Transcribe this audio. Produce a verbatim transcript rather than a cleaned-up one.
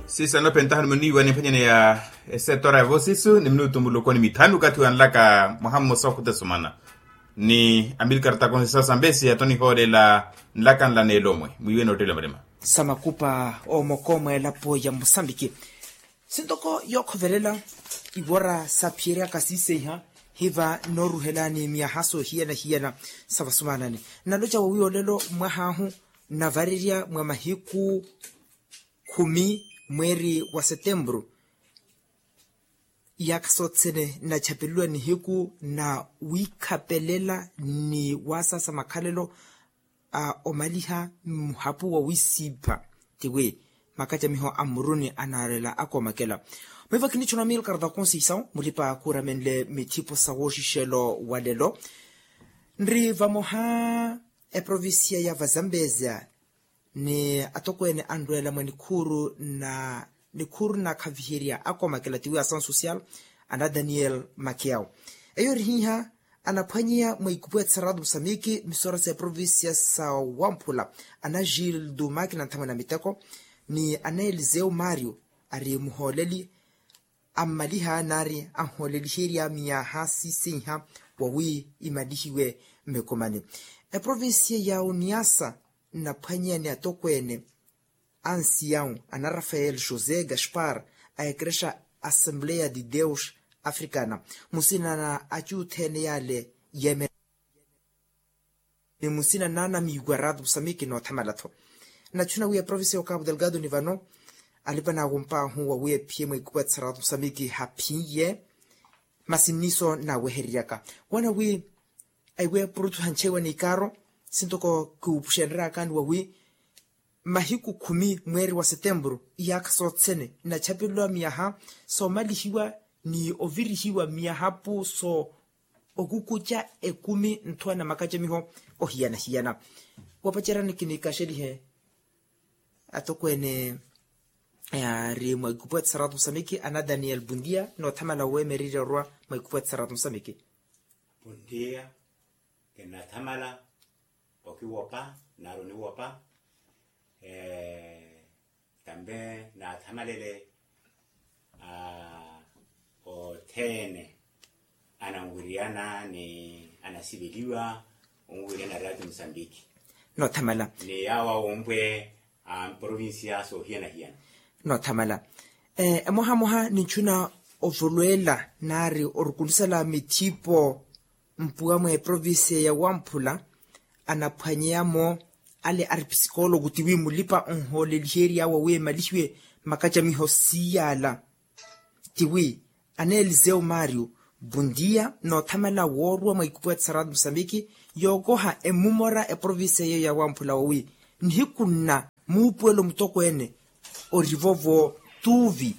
Siisa nopentaha ni muniiwa ni mphwanyani ya esetora ya voosisu ni minutu muloko ni mithanu okathi wanlaka mwaha mmosa okhuta esumana ni amilkar takonsi sa sambesi yato nihoolela nlakanla n'elomwe mwiiwe noottelela malima sa makupa oomoko mwa elapo ya musambiki. Sintoko yookhovelela iwora saaphiyeryaka siiseiha hiva nooruhelani myaha soohiyana-hiyana sa vasumanani. Naloca wawiya olelo mwahaahu navarerya mwa mahiku khumi mweeri wa setempuru. Iyaakha sothene nachapeleliwa nihiku na wiikhapelela ni waasaasa makhalelo a omaliha muhapu wa wisiipha. Tiwi makacamiho a mmuruni anaarela akoomakela. Mwiiva kinichuna milkar takonsi isawu mulipa kuuramenle mithipo sa wooxixelo wa lelo. Nri vamoha eprovincia ya vazambezia ni atokweene anrweela mwa nikhuuru na nikhuuru na khaviherya akoomakela tiwi asansosial ana daniel makiao. Eyo erihiiha anaphwanyeya mwa ikupu ya tsaratu musamiki misora sa eprovincia sa wamphula ana gil dumaki na nthamwe na miteko ni ana eliseu mario ari muhooleli ammaliha naari anhooleliherya miyaha siisinha wawi imalihiwe mmekomani. Eprovincia ya uniasa nnaphwanyeya ni atokweene ansiyawu ana rafael josé gaspar a ekerexa assembleya de deus africana musina na acuutheene yaale yeemera ni musina naanamiiwa rato musamiki noothamala-tho. Nachu nawiya provincia ya okapu delgado ni vano alipa naawompaahu wawiya ephiye mwa ikupu ya tsaratu musamiki haphiye masi nniso naawehereryaka wana wi aiwe purutu hanchewa ni ikaaro sintoko kiwupuxenreryakani wawi mahiku khumi mweeri wa setempuru iyaakha sothene nachapeleliwa miyaha soomalihiwa ni ovirihiwa miyaha pu so okukuca ekumi nthuwa na makacamiho ohiyana-hiyana. Wapacerani kinikaxelihe atokweene yaari mwa ikupu ya tsaratu musamiki ana daniel bundia noothamala weemererya orwa mwa ikupu ya tsaratu musamiki. Puntiya kinnathamala okiwopa nari oniwopa. Tambe naathamalele othene ananwiriyana ni anasiveliwa onwiriyana rati musambiki noothamala ni yaawa wompwe a mprovincia soohiyana-hiyana. Noothamala emohamoha ninchuna ovolweela nari orukunisala mithipo mpuwa mwa eprovincia ya wamphula anaphwanyeya-mo ale aripsikoloku tiwi mulipa onhoolelihery'awe wi emalihiwe makacamiho siiy'ala tiwi ana eliseu mario bundia noothamala woorwa mwa ikupu ya tsaratu musambiki yookoha emumora eprovincia yeeyo ya wamphula wawi nihiku nna muupuwelo mutokweene orivovo tuvi